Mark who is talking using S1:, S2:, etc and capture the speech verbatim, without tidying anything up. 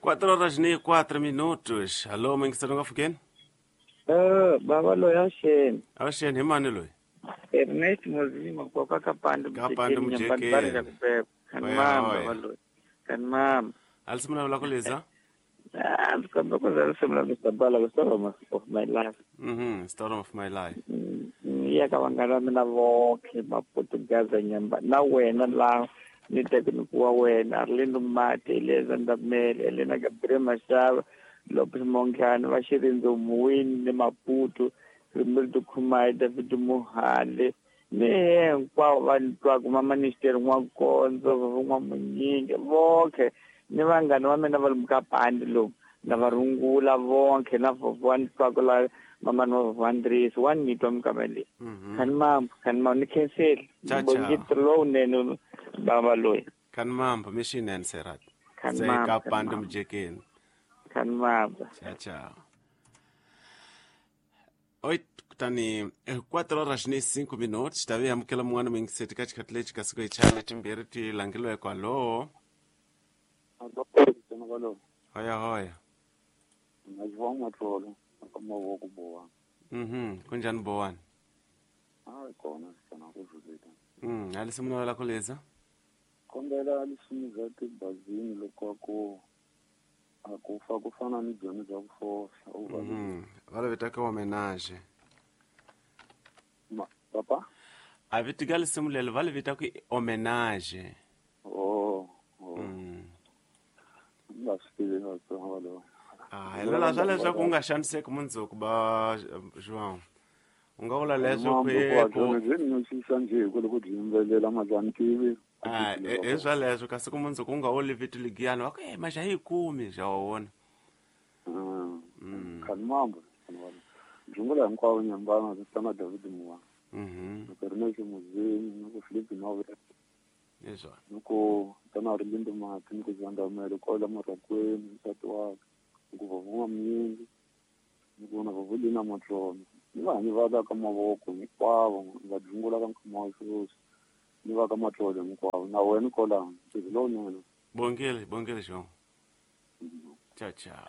S1: quatro horas e quatro minutos. Alô, muyingiseri nga pfukeni?
S2: Eh, baba loyi avuxeni.
S1: Avuxeni, hi mani loyi?
S2: Ernest Mozima koka Kapande.
S1: Kapande.
S2: Mujekeni.
S1: Mujekeni.
S2: Kani
S1: Oya,
S2: mama
S1: oya.
S2: baba loyi. Kani mama.
S1: Alisi munhu la ku leza?
S2: Ah, ndzi ku za risimu ra Mister Bala ku Story of My Life.
S1: Mhm, Story of My Life.
S2: Mm, ya ka vanghana va mina vonkhe Maputugaza nyamba na wena laha ni tekiniku wa wena Arlindo Mate, Eleza Ndamele, Elena Gabriel Mashava, Lopez Monkhani va Xirindzo Muwini ni Maputo, Rimildo Khumai, David Muhale ni hinkwavo va ni twaku maministeri N'wakondzo Van'wamunyingi vonkhe ni vanghana va mina va le Mukapandi lomu na va rungula vonkhe na vovho wa ni twaku la mamani wa vovho Andrisi wa ni twa mikama leyi.
S1: Mhm.
S2: Khani mamba, khani mamba, ni khenseli.
S1: Cha cha.
S2: Bongito lowunene baba loyi.
S1: Kani mamba mixinene Serat.
S2: Khani
S1: Se
S2: mamba, khani
S1: Kapande
S2: mamba,
S1: Mujekeni.
S2: khani mamba.
S1: Tchau, tchau. Oito, kutani eh, quatro horas ni cinco minutos. Tavi amukela mun'wana muyingiseri ka xikhathi lexi kasi ku hi chana timbirhi ti langeliweke. Alô? Hoya hoya. Mhm, kunjani bowani? Mm, alisi munhu la ku leza?
S3: Kombela lisimu tibazini loko ku a ku fa ku fana ni byona bya ku fohla u va
S1: Mhm. Va la vitaka homenage.
S3: Ma papa.
S1: A vitika lisimu lelo va li vitaka i homenage.
S3: Oh, oh.
S1: Mm.
S3: Ni nga swi tivi Vatsonga valavo.
S1: Ah, hi lela swa leswaku u nga xaniseki mundzuku ba João. U nga vula leswo
S3: Mambo ku
S1: ku ku
S3: byona byi ni nyusisa njhe hi ku loko byi yimbelela mali a ni tivi ku
S1: ah,
S3: vito
S1: hi
S3: ra
S1: hi
S3: kona.
S1: swaleswo kasi ku mundzuku u nga wo livito ligiyani va ku e maxa hi yi kumi xa wa wona.
S3: Mm.
S1: Mm.
S3: Khani mambo byungula hinkwavo nyambana na David Muwa
S1: Mhm.
S3: ni ku Ernest Muzini ni ku Philip Nove
S1: Hi swona.
S3: ni ku tana Arlindo Mati ni ku Zandamele kwala Marokweni nsati wakwe ni ku vovho N'wamunyingi ni ku na vovho Lina Matlolo ni vahanyi va ka ka mavoko hinkwavo va byungula ka nkama wa sweswi ni va ka Matlolo hinkwavo na wena kwalano ntirho lowunene.
S1: Bongile, bongile João. Tchau, tchau.